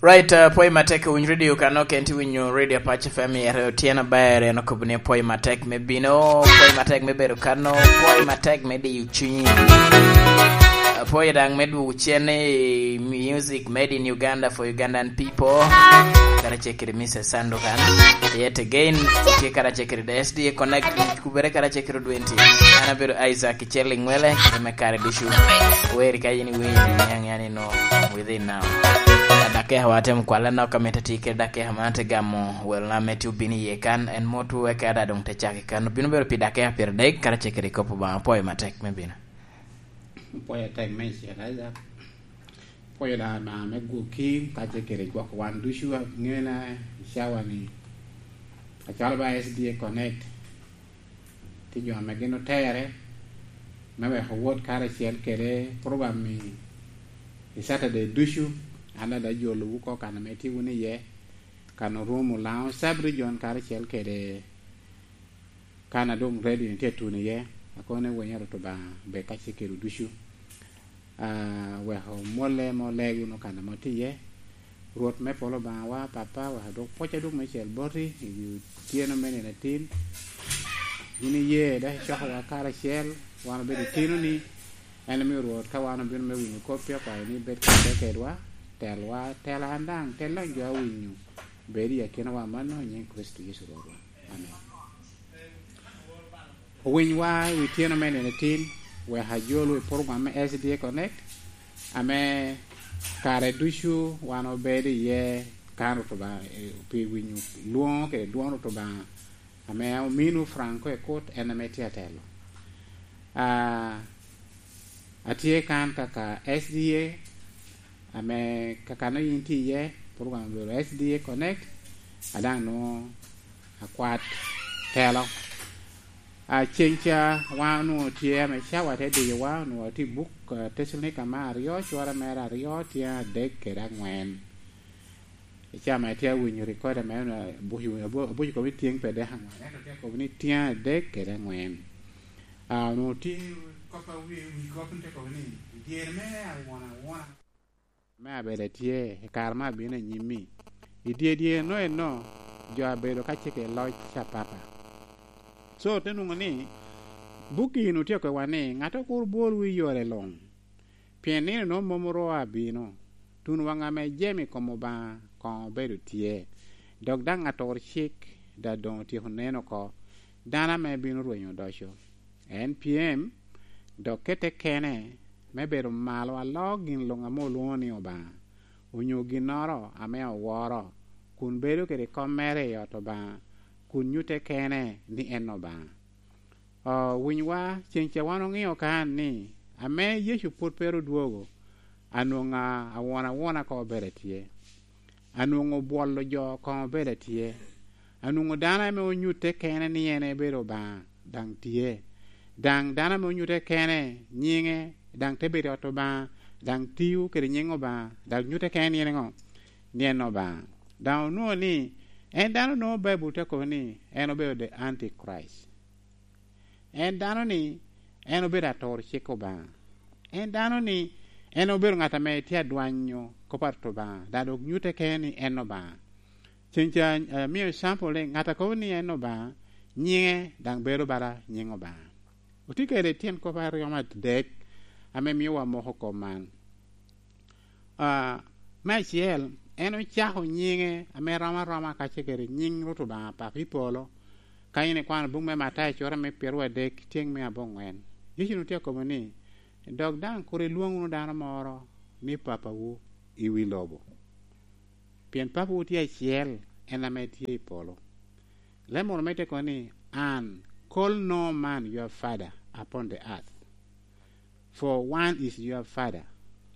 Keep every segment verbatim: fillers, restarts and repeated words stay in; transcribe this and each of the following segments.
Right, uh, pwoyo matek i winy radio kano, kenti winyo radio Apac F M i ere otyeno aber, en okobo ni pwoyo matek me bino, pwoyo matek me bedo kano, pwoyo matek me diyo cunyi. Uh, pwoyo daŋ me dwogo cen i music made in Uganda for Ugandan people. Kara cek kede Mister Sandokan. Yet again, tye kara cek kede S D A Connect, kubere kara cek kede Dwenti. An abedo Isaac Icel Ingwele, kede me kare ducu. Weri ka yin iwinyo, niaŋ yan ino. Within now. Dakika wa temo kwala nok, amito ti kede dakika man te gamo wel na meti obino iye kan, en mot weke ada dong te caki kan. Obino bedo pi dakika pyeradek, kara cek kede kop Obaŋa. Apwoyo matek me bino. Apwoyo tek me cita, Isaac. Apwoyo da Obaŋa me gwokki, ka cek kede gwok wan ducu, aŋena i cawa ni. Acalo ba S D A Connect. Tye jo ame gin otere me weko wot karacel kede program i, i Saturday ducu. An ada jolowu oko kan ame tye wun iye, kan orumo Laŋo Sub Region karacel kede kan a doŋ radio ni tye tuno iye. Akobo ni wenya Rwot Obaŋa bed ka cik kedwu ducu. Ah, weko mwolle mo leg wunu kan ame otye iye. Rwot me polo Obaŋawa, Papa, wek adwok pwoc adwog me cel boti i wi otyeno me nino atin. Yin iye dok icokowa karacel, wan obedo itinoni. En omio Rwot, ka wan obino me winyo koppi, akwayo ni ibed kede kedwa, telwa, tela an daŋ, tel daŋ jo a winyo. Bed i akinawa mano i nyiŋ Kricito Yecu Rwotwa. Amen. Owinywa i wi tyeno me nino tin, wek ajolwu i program me S D A Connect, ame kare ducu wan obedo iye kan Rwot Obaŋa, eh, pi winyo lwoŋo kede dwon Rwot Obaŋa, ame ominwu Franco Ekut, en ame tye atelo. Ah, atye kan kaka S D A, ame kakano yin tye iye, program obedo S D A Connect, a daŋ nwoŋo akwat telo. A, ceŋ ca wan onwoŋo tye ame cawa te diyowa, onwoŋo atye i buk, a, Tecalonika me aryo, cwara mere aryo, tyen adek kede aŋwen. I ca ame atye awinyo record ame onwoŋo abuco, abu-, abuco kop ni tyen pe dek aŋwen, ento tye kop ni tyen adek kede aŋwen. A, onwoŋo tye kop a wi, wi kop ni te kobo ni, i dyere mere awona awona. Me abedo atye, i kare me abino anyim-mi, i dye dye eno eno, jo abedo ka cik i loc apapa. So, te nwoŋo ni, buk-ki onwoŋo tye akobbiwa ni, "Ŋattoro kur bwolwu i yore luŋ, pien nino nwoŋo mom oro abino, tun waŋ ame jami i kom Obaŋa koŋ obedo tye, dok daŋ atur cik daŋ doŋ otyeko nen oko, dano ame bino rwenyo odoco." En pyem, dok kette kene me bedo malo aloo gin luŋ ame olwoŋo ni Obaŋa, onyo ginnoro ame oworo, kun bedo kede kop mere i ot Obaŋa, kun nyutte kene ni en Obaŋa. O, winywa, ceŋ ca wan oŋeo kan ni, ame Yecu pwod pe ru dwogo, anwoŋo a-, awon awona koŋ obedo atye. Anwoŋo bwolo jo koŋ obedo atye. Anwoŋo dano ame onyutte kene ni en ebedo Obaŋa, daŋ tye. Daŋ dano ame onyutte kene nyiŋe, daŋ te bedo i ot Obaŋa, daŋ tio kede nyiŋ Obaŋa, daŋ nyutte kene ni en ŋo? Ni en Obaŋa. Daŋ onwoŋo ni, en dano nwoŋo Baibul te kobo ni en obedo the Antichrist. En dano-ni, en obedo atur cik Obaŋa. En dano-ni, en obedo ŋat ame tye adwanyo kop a Rwot Obaŋa, daŋ dok nyutte kene ni en Obaŋa. Ceŋ ca, eh, mio example ni, ŋat a kobo ni en Obaŋa, nyiŋe daŋ bedo bala nyiŋ Obaŋa. Otye kede tyen kop aryo me adek ame mio wamoko kop man. Ah, me acel, en ocako nyiŋe ame rom aroma kacel kede nyiŋ Rwot Obaŋa Papa i polo. Ka in ikwano buk me Matayo cura me pyeradek, tyen me aboŋwen, Yecu onwoŋo tye akobo ni, "Dok daŋ kur ilwoŋ wunu dano moro ni papawu i wi lobo, pien Papawu tye acel, en ame tye i polo." Leb moro me tye kono ni, "And call no man your father upon the earth, for one is your Father,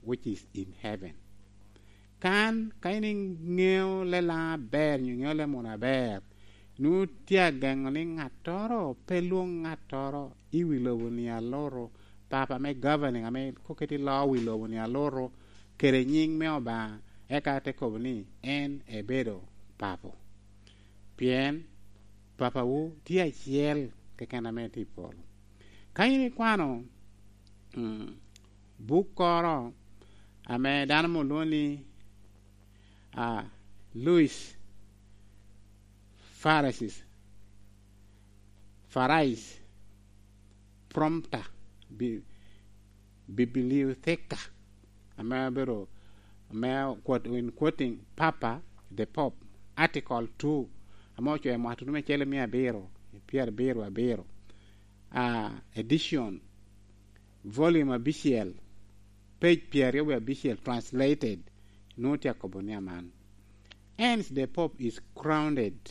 which is in heaven." Kan, ka in iŋeo leb Laŋo aber, nyo iŋeo leb munu aber, nwoŋo tye ageŋo ni ŋattoro pe lwoŋ ŋattoro i wi lobo ni aloto, papa me governing ame koketi loo wi lobo ni aloto, kede nyiŋ me Obaŋa, eka te kobo ni en ebedo papo. Pien papawu tye acel keken ame tye i polo. Ka in ikwano, mm, bukkoro ame dano mo lwongo ni, uh, Louis Pharisees, Pharisees, prompter, bi-, bibliotheca, ame abedo, ame quote, in quoting Papa, the Pope, Article two, ame ocoo i mwaka tutu me cel i mia abiro, pyerabiro abiro, ah, edition, volume abicel, page pyeraryo wie abicel, translated, nwoŋo tye akobo ni aman. Hence the Pope is crowned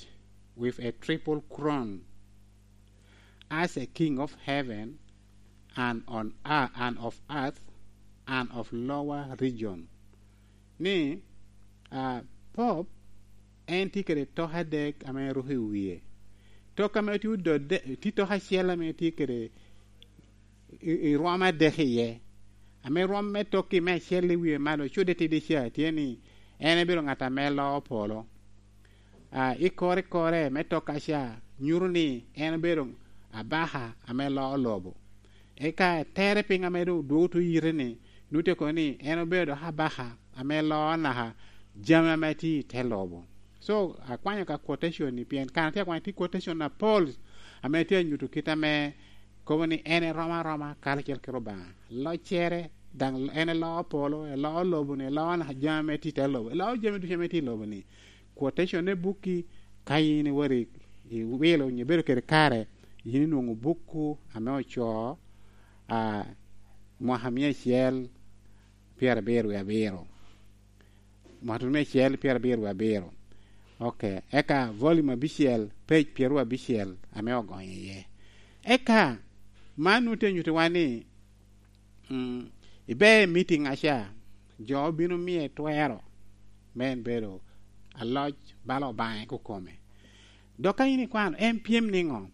with a triple crown as a king of heaven and on earth, and of earth and of lower region. Ni, ah, Pope en tye kede tok adek ame ruko i wie. Tok ame tye odode, tye tok acel ame tye kede i, i rwom adek iye. Ame rwom me tokki me acel i wie malo, cudde tidi ca, tye ni en ebedo ŋat ame loo polo. Ah, i kore kore me tokka ca nyuto ni en obedo abaka ame loo lobo. Eka tere piny ame doŋ dwogo tuŋ yite ni, nwoŋo tye kono ni en obedo dok abaka ame loo naka jami ame tye i te lobo. So, akwanyo ka quotation ni, pien kan atye akwanyo tye quotation apol ame tye anyuto kit ame kobo ni en eromo aroma karacel kede Obaŋa. Loccere, daŋ en eloo polo, eloo lobo-ni, eloo naka jami ame tye i te lobo, eloo jami ducu ame tye i lobo-ni. Quotation-ne bukki, ka in iwot i, iwilo onyo ibedo kede kare, yin inwoŋo bukku ame ocoo, ah, mwaka mia acel pyerabiro wie abiro. Mwaka mia acel pyerabiro wie abiro. Ok, eka volume abicel, page pyeraryo abicel ame ogonyo iye. Eka, man nwoŋo tye nyutiwa ni, mm, ibe i meeting aca, jo obino miye twero me en bedo aloc bala Obaŋa kukome. Dok ka in ikwano, en pyem niŋo?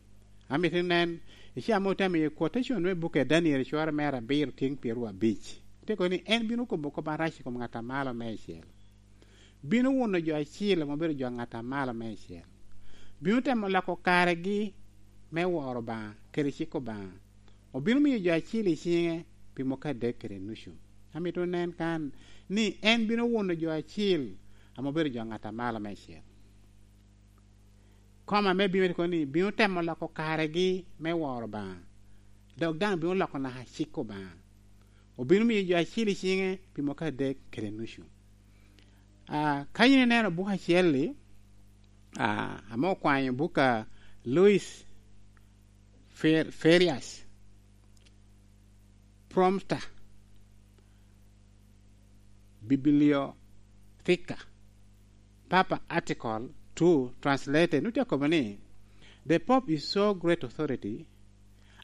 Amito inen, i ca ame otemo i quotation me buk a Daniel cware mere abiro tyeŋ pyeraryo abic. Tye kono ni en bino kobo kop arac i kom ŋat a malo meicel. Bino wuno jo acil ame obedo jo ŋat a malo meicel. Bino temo loko karegi me woro Obaŋa kede cik Obaŋa. Obino miyo jo acil i ciŋe pi mwaka adek kede nucu. Amito nen kan ni en bino wuno jo acil ame obedo jo ŋat a malo meicel. Koma me bino tye kono ni bino temo loko karegi me woro Obaŋa, dok daŋ bino loko naka cik Obaŋa. Obino miyo jo acil i ciŋe pi mwaka adek kede nucu. Ah, ka yin ineno buk acel-li, ah, ame okwanyo buk a Louis Fer-, Ferias, Prompter, Bibliotheca, Papa Article two translated, nwoŋo tye akobo ni, "The Pope is so great authority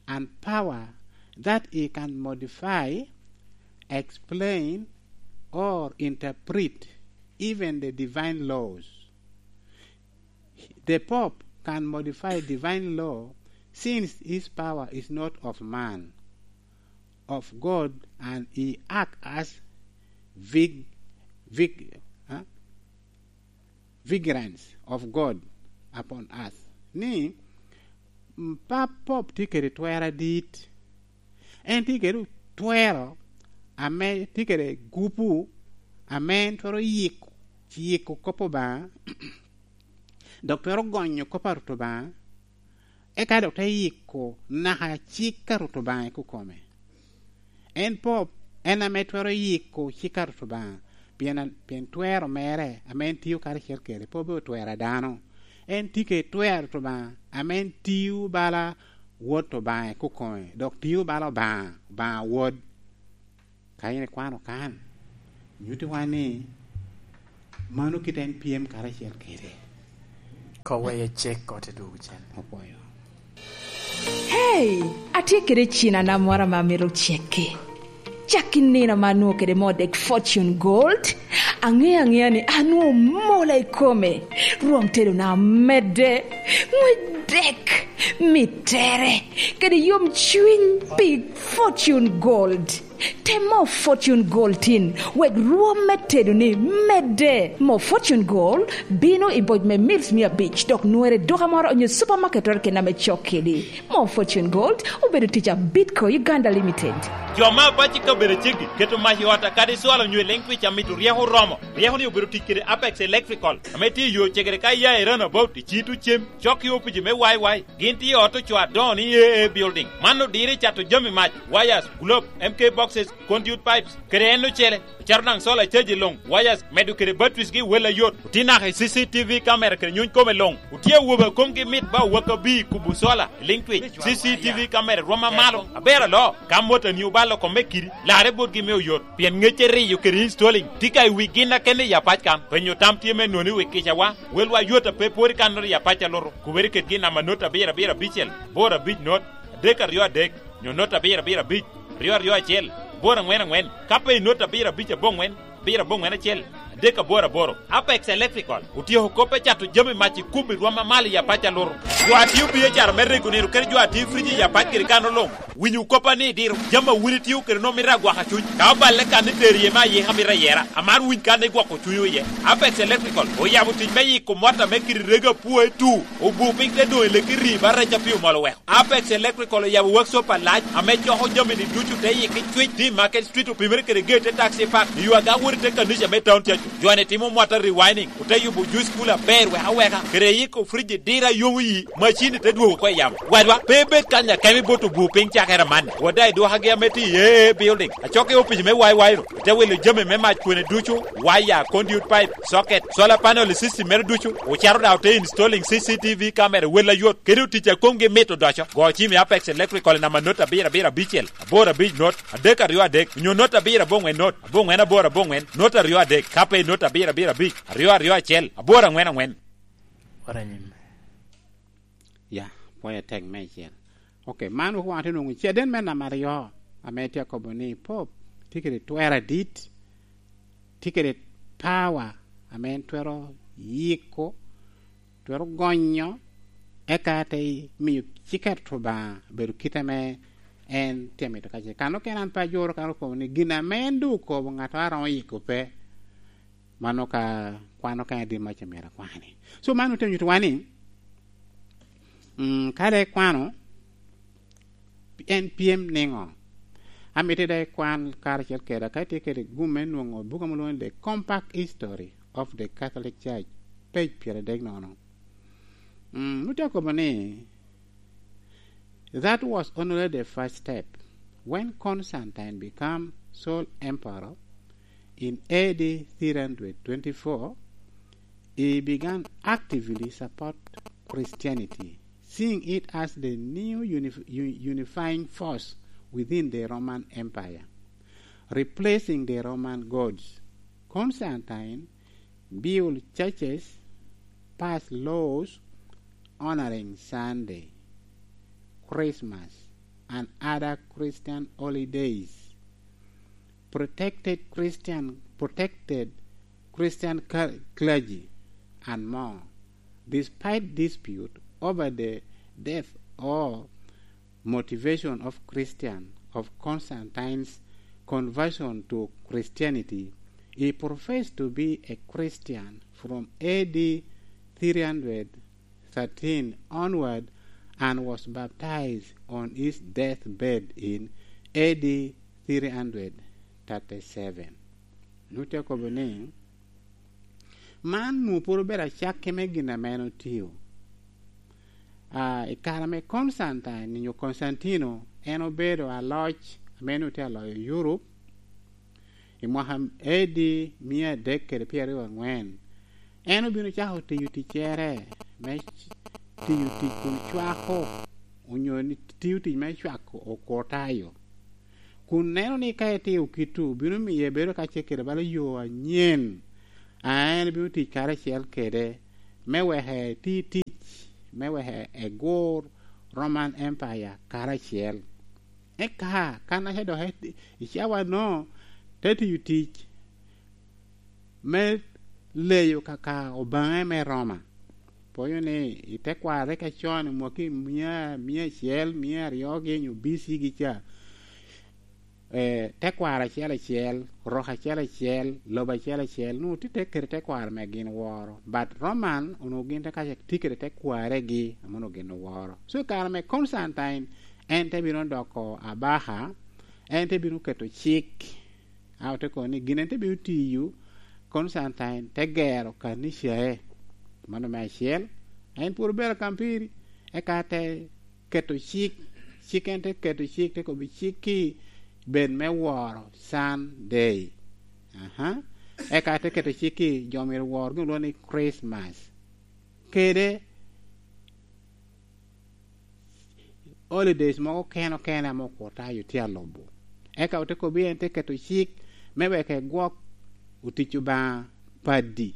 and power that he can modify, explain, or interpret even the divine laws." The Pope can modify divine law since his power is not of man, of God, and he acts as vig-, vig-, huh? Vigilance of God upon earth. Ni, mm, Pap Pope tye kede twero adit. En tye kede twero ame tye kede gupu ame en twero yiko, yiko kop Obaŋa, dok twero gonyo kop a Rwot Obaŋa, eka dok te yiko naka cik a Rwot Obaŋa i kukome. En Pope, en ame twero yiko cik a Rwot Obaŋa, pien, pien twero mere ame en tio karacel kede pe obedo twero a dano. En tye kede twero a Rwot Obaŋa ame en tio bala Wot Obaŋa i kukome, dok tio bala Obaŋa, Obaŋa Wod. Ka in ikwano kan, nyutiwa ni mano kite en pyem karacel kede. Ka weye cek kote dwogo cen. Apwoyo. Hey, atye kede cinana moro ame amito cekke. Cak i nino ame anwoŋo kede moo dek Fortune Gold, aŋeo aŋea ni anwoŋo mola i kome. Rwom tedona omedde, ŋwec dek, mittere, kede yomcwiny pi Fortune Gold. Tem moo Fortune Gold tin, wek rwom me tedoni De, mo Fortune Gold bino i boc me mils mia abic, dok nwere i duka moro onyo supamaket keken ame cok kedi. Mo Fortune Gold obedo tic a Bitco Uganda Limited. Jo me apac i kabedo aceggi keto mac i ot akadi cwalo onyo i liŋ twic amito ryeko oromo. Ryeko ni obedo tic kede Apex Electrical, ame tye i yo cegere ka iya i Runabout, i Cito Cem, cok i opici me Y Y. Gin tye i ot ocoo adoŋo ni A A Building. Man odiro i cato jami mac, wires, globe, M K boxes, conduit pipes, kede en ocele. Ocaro daŋ solar charge i luŋ, wires, medo kede batteries gi wel ayot. Otye naka i C C T V camera kede nyuny kome luŋ. Otye awobe a komgi mit ba owaka bi i kubo solar i liŋ twic. C C T V camera rwom amalo, aber aloo. Ka motani obalo kome kidi, larre botgi me oyot. Pien ŋecce riyo kede installing tye ka i wi gin akene i apac kan. Penyo tam tye me noni wi kicawa. Welwa yot a pe pwod i kannoro i apac alutu. Kubere ked gin namba not abiro abiro abicel, boro abic not, adek aryo adek, nyo not abiro abiro abic, aryo aryo acel, boro aŋwen aŋwen, ka pe i not abiro abic aboŋwen, abiro aboŋwen acel, adek aboro aboro. Apex Electrical otyeko kop me cato jami mac i kum i rwom amalo i apac alutu. Jo a tio biacara me rego nino kede jo a tio frij i apac kede kano luŋ, winyo koppa ni diro. Jami a wun itio kede nwoŋo mito agwaka cuny. Ka oballe kan ni tero iye me ayika mito ayera, amaro winy kan igwoko cunywu iye. Apex Electrical oyabo tic me yiko mot ame kite rego apwoe tu, obu piny te doŋ i leki ri ba rec a pi omol oweko. Apex Electrical oyabo workshop alac ame coko jami-ni ducu te yiki cwic, tye i Market Street, opimere kede gate te Taxi Park, i yo aga wot i te kanica me Town Church. Jo-ni timo mwata rewinding, ote yubo juice cooler aber wek aweka, kede yiko fridge diro a yomo yi, macin-ni te dwogo oko i yamo. Wadwa, pe ibed kany akemo ibot obur piny cakere amanni. Wada i dwokagi ame tye i A A Building, acok i opic me Y Y-ru, ote wilo jami me mac kwene ducu, waya, conduit pipe, socket, solar panel i system mere ducu, ocaro daŋ ote installing C C T V camera wel ayot, kede otic a komgi mit odoco. Go cim i Apex Electrical i namba not abiro abiro abicel, aboro abic not, adek aryo adek, onyo not abiro aboŋwen not, aboŋwen aboro aboŋwen, not aryo adek, ka pe not abiro abiro abic, aryo aryo acel, aboro aŋwen aŋwen. Ora nyim. Ya, pwoyo tek meicel. Ok, man wek wan te nwoŋo caden me namba aryo, ame tye akobo ni Pope tye kede twer adit, tye kede power ame en twero yiko, twero gonyo, eka te miyo ciket Obaŋa bedo kite ame en tye amito kacel. Kan okene an pe ajuro kan okobo ni gin ame en doŋ okobo ŋat a romo yiko pe. Mano ka kwan okene adit ma ce myero akwani. So man ote nyuto wa ni, mm, ka dek kwano, en pyem niŋo? Amito dek kwan karacel keda ka itye kede gum me nwoŋo buk ame lwongo ni The Compact History of the Catholic Church, page pyeradek nono. Mm, nute akobo ni, that was only the first step. When Constantine became sole emperor in A D three hundred twenty-four, he began actively support Christianity, seeing it as the new unif-, u-, unifying force within the Roman Empire, replacing the Roman gods. Constantine build churches, pass laws honoring Sunday, Christmas, and other Christian holidays, protected Christian, protected Christian cl-, clergy, and more. Despite dispute over the death or motivation of Christian, of Constantine's conversion to Christianity, he professed to be a Christian from A D three hundred thirteen onward and was baptized on his deathbed in A D three hundred thirty-seven. Nute akobo ni, man nwoŋo pwod obedo acakke me gin ame en otio. Ah, i kare ame Constantine, nyo Constantino, en obedo aloc ame en otye aloyo Europe, i mwaka A D mia adek kede pyeraryo aŋwen, en obino cako tiyo ticcere me c-, tiyo tic kun cwako, onyo ni tiyo tic me cwako okwo tayo. Kun neno ni ka itio kit-tu, bino miyo ibedo ka ce kede bala yo anyen, a en bino tic karacel kede, me wek eti tic, me wek egur Roman Empire karacel. Eka, kan aca dok i, i cawa-no, te tiyo tic me leyo kaka obaŋe me Roma. Pwonyo ni i tekwarre ka con, i mwaki mia, mia acel, mia aryo gi nyo B C gi ca, eh, tekwaro acel acel, rok acel acel, lobo acel acel, onwoŋo tye te kede tekwaro me gin woro. But Roman onwoŋo gin te kaca tye kede tekwaregi ame onwoŋo gin oworo. So i kare me Constantine, en te bino doko abaka, en te bino keto cik, a ote kobo ni gin en te bino tiyo, Constantine te gero kanicae. Mano me acel. En pwod obedo akampiri, eka te keto cik, cik en te keto cik, te kobo cik-ki bed me woro Sunday. Aha. Eka te keto cik-ki jo myero wor gin olwoŋo ni Christmas. Kede holidays mogo kene okene ame okur tayo tye alubo. Eka ote kobo en te keto cik me wek egwok otic Obaŋa padi,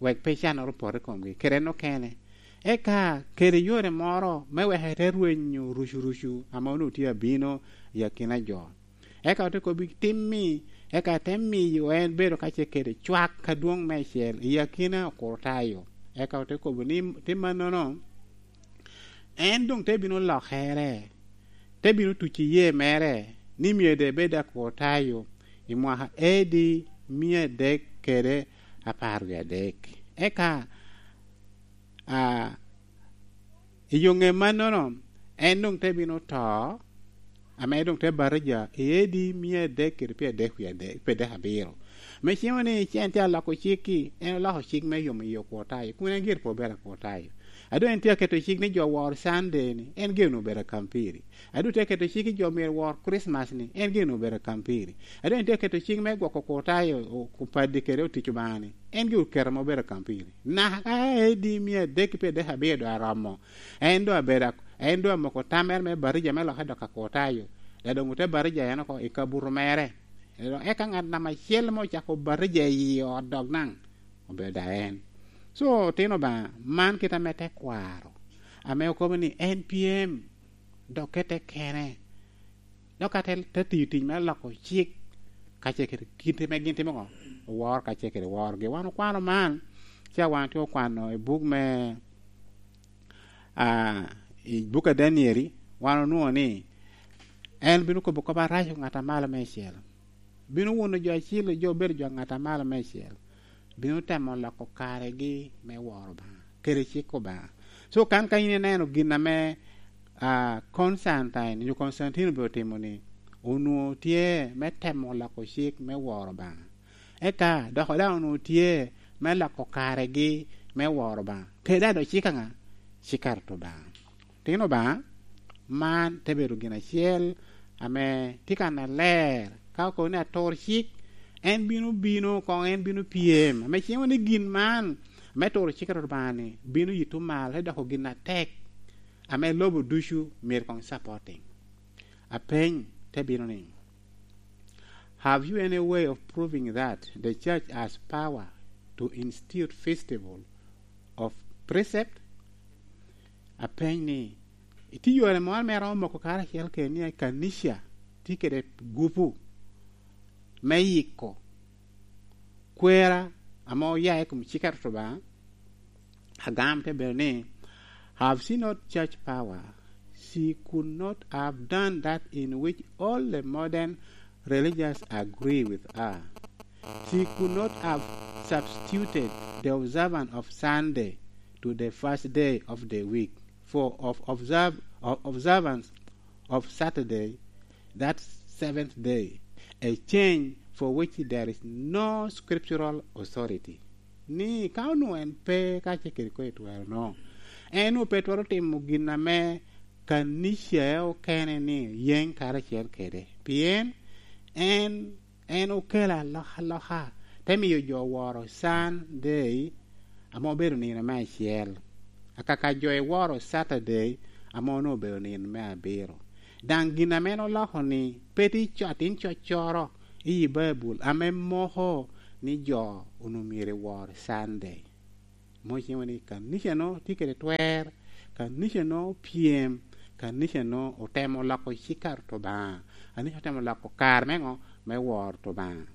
wek pe cannoro opot i komgi, kede en okene. Eka kede yore moro me wek ete rwenyo rucurucu ame onwoŋo tye abino i akina jo. Eka ote kobo tim-mi, eka te miyo en bedo kacel kede cwak adwoŋ meicel i akina okur tayo. Eka ote kobo ni, tim mannono, en doŋ te bino lokere, te bino tuco iyee mere ni myero doŋ ebed akur tayo i mwaka A D mia adek kede apar wie adek. Eka, a, i yo ŋe mannono, en doŋ te bino to, ame doŋ te batija i A D mia adek kede pyeradek wie adek, pyeradek abiro. Me cimo ni, ce en tye aloko cik-ki, en oloko cik me yomo i okur tayo, kun en gire pe obedo akur tayo. A doŋ en tye aketo cik ni jo wor Sunday-ni, en gire onwoŋo obedo akampiri. A doŋ tye aketo cik ni jo myero wor Kricmac-ni, en gire onwoŋo obedo akampiri. A doŋ en tye aketo cik me gwoko okur tayo, o-, opaddi kede otic Obaŋa-ni, en gire oketo ame obedo akampiri. Naka ka A D mia adek ki pyeradek abiro doŋ aromo, en doŋ abedo ak-, en doŋ amoko tammere me batija me lokke dok akur tayo, dok doŋ ote batija en oko i kabuto mere. Eka ŋat namba acel ame ocako batija i ot dok daŋ obedo daŋ en. So, otino Obaŋa, man kite ame tekwaro, ame okobo ni en pyem, dok kete kene, dok ka te, te tiyo tic me loko cik, kacel kede kite ame gin timo oko, oworo kacel kede worogi. Wan okwano man, ca wan tye okwano i buk me, a, i buk a Daniel, wan onwoŋo ni en bino kobo kop arac ŋat a malo meicel, bino wuno jo acil, jo obedo jo ŋat a malo meicel, bino temo loko karegi me woro Obaŋa kede cik Obaŋa. So, kan ka in ineno gin ame, a, Constantine, nyo Constantine obedo timo-ni, onwoŋo tye me temo loko cik me woro Obaŋa. Eka dok daŋ onwoŋo tye me loko karegi me woro Obaŋa. Kede daŋ dok cik aŋa? Cik a Rwot Obaŋa. Tino Obaŋa, man te bedo gin acel ame tye kan aler. Ka okobo ni atur cik, en bino bino, koŋ en bino pyem. Ame cimo ni gin man me turo cik a Rwot Obaŋa-ni bino yito malo, te doko gin atek ame lobo ducu myero koŋ supporting. Apeny te bino ni, "Have you any way of proving that the church has power to institute festival of precept?" Apeny ni, itye yore moro ame romo moko karacel kede ni kanica tye kede gupu me yiko kwera ame oya i kom cik a Rwot Obaŋa? Agam te bedo ni, "Have she not church power, she could not have done that in which all the modern religious agree with her. She could not have substituted the observance of Sunday to the first day of the week for of observe, of observance of Saturday, that seventh day, a change for which there is no scriptural authority." Ni ka onwoŋo en pe kacel kede kwo etwero no, en onwoŋo pe twero timo gin ame kanica okene ni yeny karacel kede. Pien en, en okelo alokaloka, te miyo jo woro Sunday ame obedo nino me acel, akaka jo eworo Saturday ame onwoŋo obedo nino me abiro. Daŋ gin ame en oloko-ni pe tye co-, atin coccoro i Baibul ame moko ni jo onwoŋo myero ewor Sunday. Mom ocimo ni kanica-nu tye kede twer, kanica-nu opyem, kanica-nu otemo loko cik a Rwot Obaŋa, kanica otemo loko kare me ŋo? Me woro Rwot Obaŋa.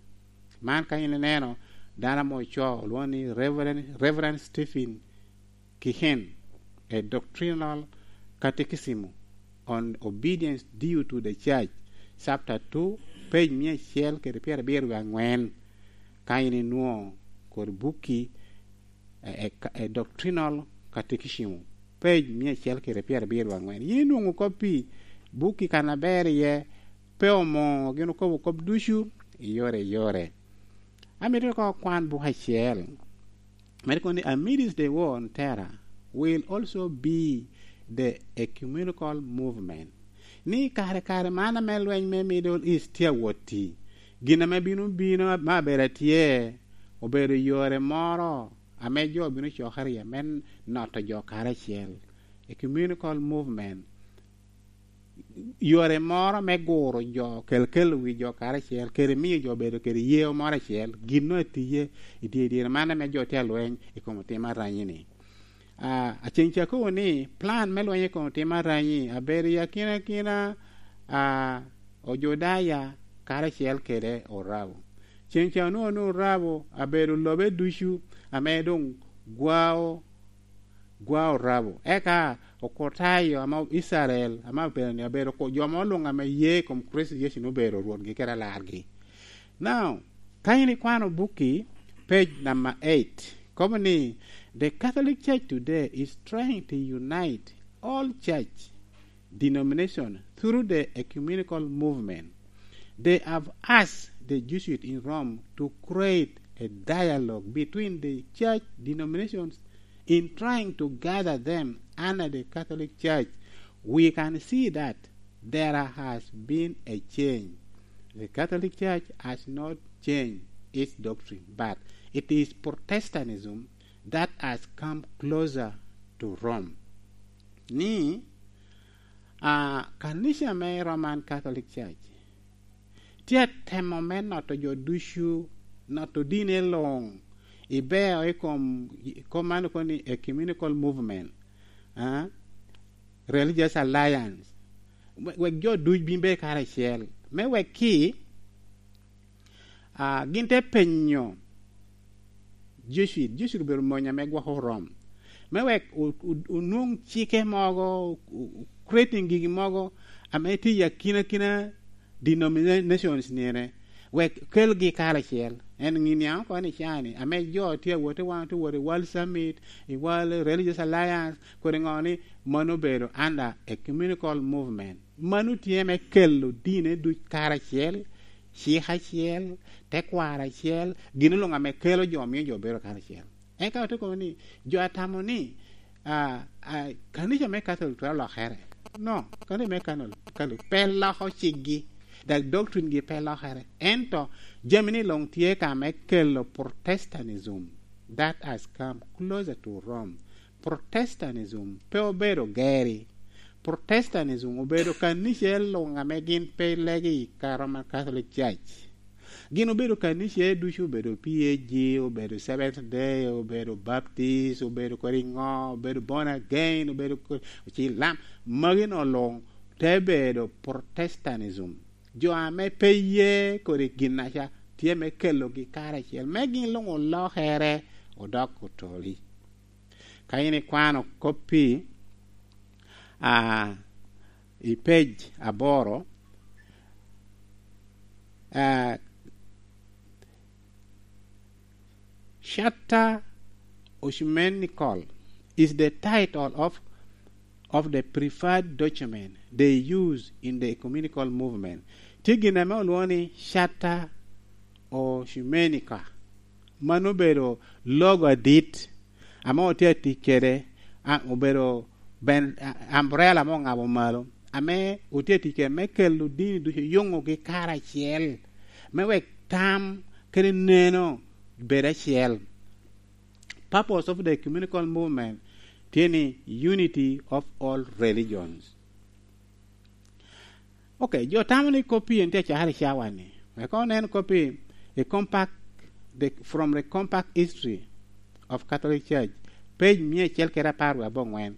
Man ka in ineno dano ame ocoo olwoŋo ni Reverend, Reverend Stephen Kihen, A Doctrinal Catechism on Obedience Due to the Church, chapter two, page mia acel kede pyerabiro wie angwen, ka in inwoŋo kodi bukki, e, e, e Doctrinal Catechism, page mia acel kede pyerabiro wie angwen. Yin inwoŋo kop i bukki kan aber iye, pe omo gin okobo kop ducu i yore i yore. Amito ko kwan buk acel. Mito kono ni, "Amidst the war on terror will also be the ecumenical movement." Ni kare, kare man ame lweny me Middle East tye awot i, gin ame bino bino ma abedo atye, obedo yore moro ame jo bino cokere iye me noto jo karacel. Ecumenical movement. Yore moro me guro jo, kel kelo wi jo karacel, kede miyo jo bedo kede yeo moro acel, gin no atiye i dye, dyere man ame jo tye alweny i kom otim aranyi-ni. Ah, aceŋ ca kobo ni plan me lweny i kom otim aranyi abedo i akina akina, ah, Ojudaya karacel kede Orabo. Ceŋ ca onwoŋo ni Orabo abedo lobe ducu ame doŋ gwao, gwao Orabo. Eka Okotayo ame Icrael, ame obedo ni abedo ko-, jo mo luŋ ame ye i kom Kricito Yecu ni obedo Rwotgi kede Alargi. Now, ka in ikwano bukki, page number eight, kobo ni, "The Catholic Church today is trying to unite all church denomination through the ecumenical movement. They have asked the Jesuit in Rome to create a dialogue between the church denominations in trying to gather them under the Catholic Church. We can see that there has been a change. The Catholic Church has not changed its doctrine, but it is Protestantism that has come closer to Rome." Ni, ah, kanica me Roman Catholic Church tye atemo me noto jo ducu, noto dine luŋ, ibeo i kom, i kom man okoni ecumenical movement, ah, religious alliance, we-, wek jo duc bin bed karacel, me wek ki, ah, gin te penyo Jesuit, Jesuit obedo mony ame gwoko Rom, me wek o-, o-, onwoŋ cike mogo, o-, o-, creating gigi mogo ame tye i akina akina denominations nine, wek kelgi karacel. En ŋi niaŋ oko ni cani, ame jo tye awot i wan, tye wot i World Summit, i World Religious Alliance, kodi ŋo ni, mano obedo under ecumenical movement. Mano tye me kelo dine duc karacel, cik acel, tekwaro acel, gin luŋ ame kelo jo, miyo jo bedo karacel. Eka ote kobo ni, jo atamo ni, ah, ah, kanica me Catholic twero lokere. No, kanica me Catholic, Catholic pe loko cikgi, dak doctrine gi pe lokere. Ento, jami ni luŋ tye ka me kelo Protestantism that has come closer to Rome. Protestantism pe obedo geri. Protestantism obedo kanica luŋ ame gin pe legi i ka Roman Catholic Church. Gin obedo kanica ducu, obedo P A G, obedo Seventh Day, obedo Baptist, obedo kodi ŋo, obedo born again, obedo ko-, ocilam. Magi no luŋ te bedo Protestantism. Jo ame pe ye kodi ginnaca tye me kelogi karacel, me gin luŋ olokere, odok otoli. Ka in ikwano koppi, ah, i page aboro, ah, Charta Ecumenical is the title of, of the preferred document they use in the ecumenical movement. Tye gin ame olwoŋo ni Charta Ecumenica. Mano obedo logo adit ame otye atic kede, a, obedo ben-, a, umbrella ame oŋabo malo, ame otye atic kede me kelo dini ducu, yuŋogi karacel, me wek tam kede neno bed acel. Purpose of the ecumenical movement tye ni unity of all religions. Ok, jo tamo ni koppi en tye acakere i cawa-ni. Wek onen koppi i Compact, the, from the Compact History of Catholic Church, page mia acel kede apar wie abongwen.